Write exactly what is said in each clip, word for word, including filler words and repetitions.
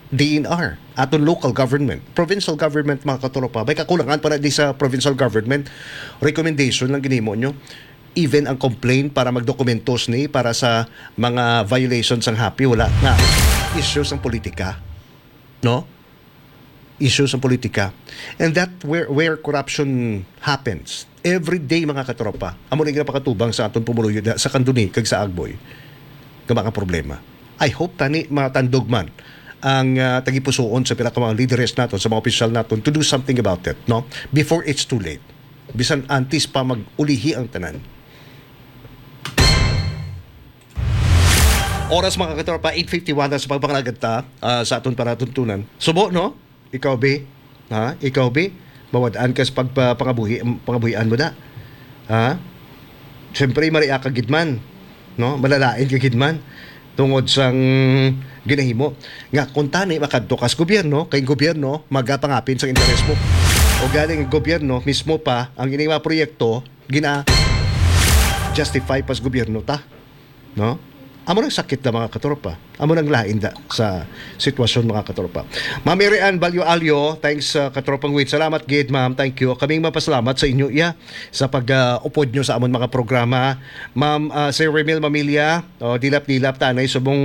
D N R, aton local government, provincial government, mga katropa. May kakulangan pa na di sa provincial government. Recommendation lang ginimo nyo. Even ang complaint para magdokumentos ni para sa mga violations ang happy, wala na. Issues ang politika. No? Issues ang politika. And that where, where corruption happens. Every day, mga katropa. Amo na yung napakatubang sa aton pumuluyo na, sa Kanduni kag sa Agboy. Nga mga problema. I hope tani matandog man ang ah, tagipusoon sa pila ka mga leaders naton, sa mga opisyal naton to do something about it, no? Before it's too late. Bisan antes pa mag-ulihi ang tanan. Oras, mga katropa, eight fifty-one na sa pagpangalagad ta ah, sa aton panatuntunan. Subo, no? Ikaw, Bi? Ha? Ikaw, Bi? Mawad-an ka sa pagpa- pangabuhi, pangabuhian mo na. Ha? Siyempre, maria ka gid man. No? Malalain ka gid man. Tungod sang ginahimo. Nga kung tani, makadto ka sa gobyerno, kay gobyerno, magapangapin sa interes mo. O galing ang gobyerno, mismo pa, ang ining mga proyekto, gina-justify pa sa gobyerno ta. No? Amo nang sakit na, mga katropa. Amo nang lain da sa sitwasyon, mga katropa. Ma'am Mary Ann Balyo Alyo, thanks, uh, katropang Wade. Salamat gid, ma'am. Thank you. Kaming mapasalamat sa inyo, iya, sa pag-upod nyo sa amon mga programa. Ma'am, uh, Sir Remil Mamilya, oh, dilap-dilap tanay subong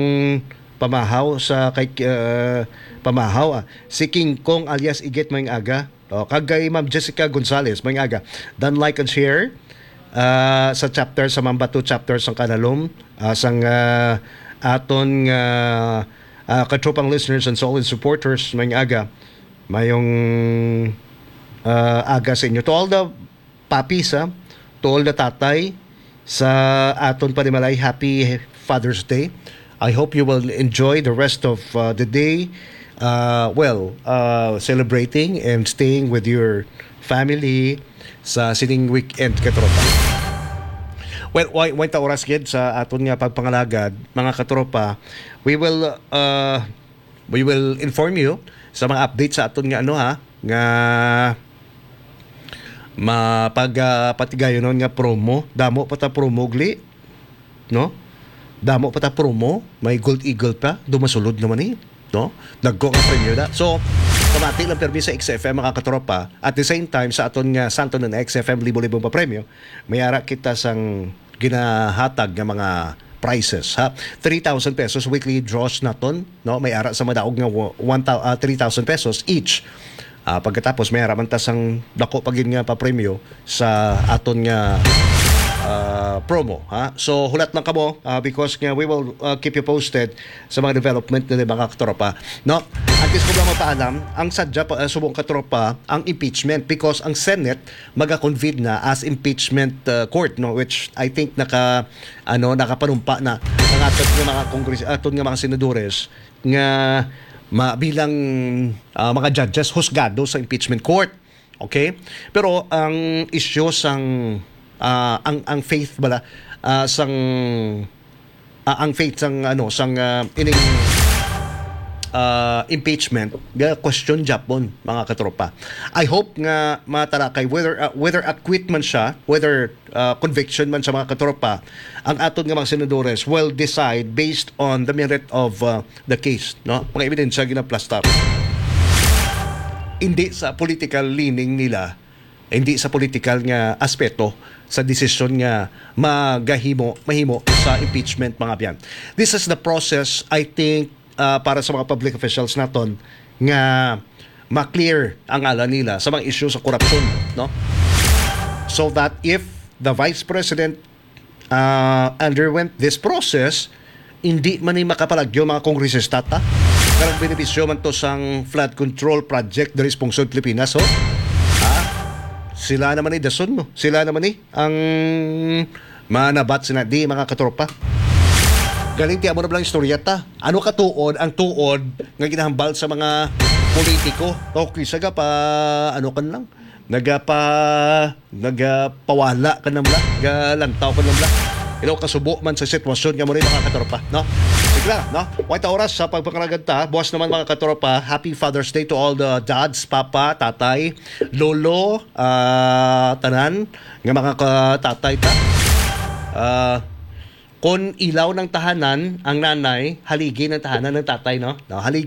pamahaw sa kay uh, pamahaw, ah. Si King Kong alias Igit, maayong aga. Oh, kag kay Ma'am Jessica Gonzalez, maayong aga. Dan like and share ah, sa chapter sa Mamba two chapter sang Kanalom, ah, sang ah, aton nga ah, katropang listeners and solid supporters, maayong aga. Maayong ah, aga sa inyo. To all the papis, ah, to all the tatay sa aton panimalay, happy Father's Day. I hope you will enjoy the rest of uh, the day, uh, well, uh, celebrating and staying with your family sa sining weekend, katropa. Well, way, way ta oras gid sa aton nga pagpangalagad, mga katropa. We will uh, we will inform you sa mga updates sa aton nga ano, ha, nga mapag uh, patigayonon nga promo. Damo pa ta promo, gli, no? Damo pa ta promo, may Gold Eagle pa, dumasulod naman ni, no? Dagko nga premyo na. So, pamati lang permi sa X F M, mga katropa. At the same time, sa aton nga Santo ng X F M, libo-libong pa premyo, may ara kita sang ginahatag nga mga prizes, ha. Three thousand pesos weekly draws naton, no? May ara sa madaog nga wa- one thou- ah, three thousand pesos each. Ah, pagkatapos may ara man ta sang dako pa gid nga papremyo sa aton nga ah, promo, ha. So hulat lang kamo ah, because nga we will ah, keep you posted sa mga development nila, mga katropa, no? At least ko lang mapaalam, ang sadya pa, ah, subong katropa, ang impeachment because ang Senate maga-convene na as impeachment uh, court, no, which I think naka ano, nakapanumpa na ang aton nga mga kongres aton nga mga senadores nga ma, bilang uh, mga judges husgado sa impeachment court. Okay? Pero ang isyu sang uh, ang ang faith bala uh, sang ah, ang faith sang ano sang ah, ining ah, impeachment, ga question japon, mga katropa. I hope nga matalakay whether ah, whether acquit man siya, whether ah, conviction man sa mga katropa, ang aton nga mga senadores will decide based on the merit of ah, the case, no? Mga ebidensya ginaplastar. Hindi sa political leaning nila, hindi sa political nga aspeto sa desisyon nga magahimo mahimo sa impeachment, mga abyan. This is the process, I think, uh, para sa mga public officials naton nga ma-clear ang ala nila sa mga isyu sa korupsyon, no? So that if the vice president uh, underwent this process, hindi man ni makapalagyo, mga kongresista ta. Karang benepisyo man to sang flood control project diri sa pungsod Pilipinas, oh. Ha? Sila naman ni dason mo. Sila naman ni ang manabat sina di, mga katropa. Galing ti amo na lang istorya ta. Ano ka tuod ang tuod nga ginahambal sa mga politiko? Okay, saga pa ano kan lang. Nagapa nagapawala ka na mula, galantaw ka na mula. Ilo kasubo man sa sitwasyon nga mo rin, mga katropa, no? Sige lang, no? Wait oras sa pagpangaragad ta. Buwas naman, mga katropa, happy Father's Day to all the dads, papa, tatay, lolo, ah, tanan nga mga katatay ta. Ah, kon ilaw ng tahanan ang nanay, haligi ng tahanan ng tatay, no? No, haligi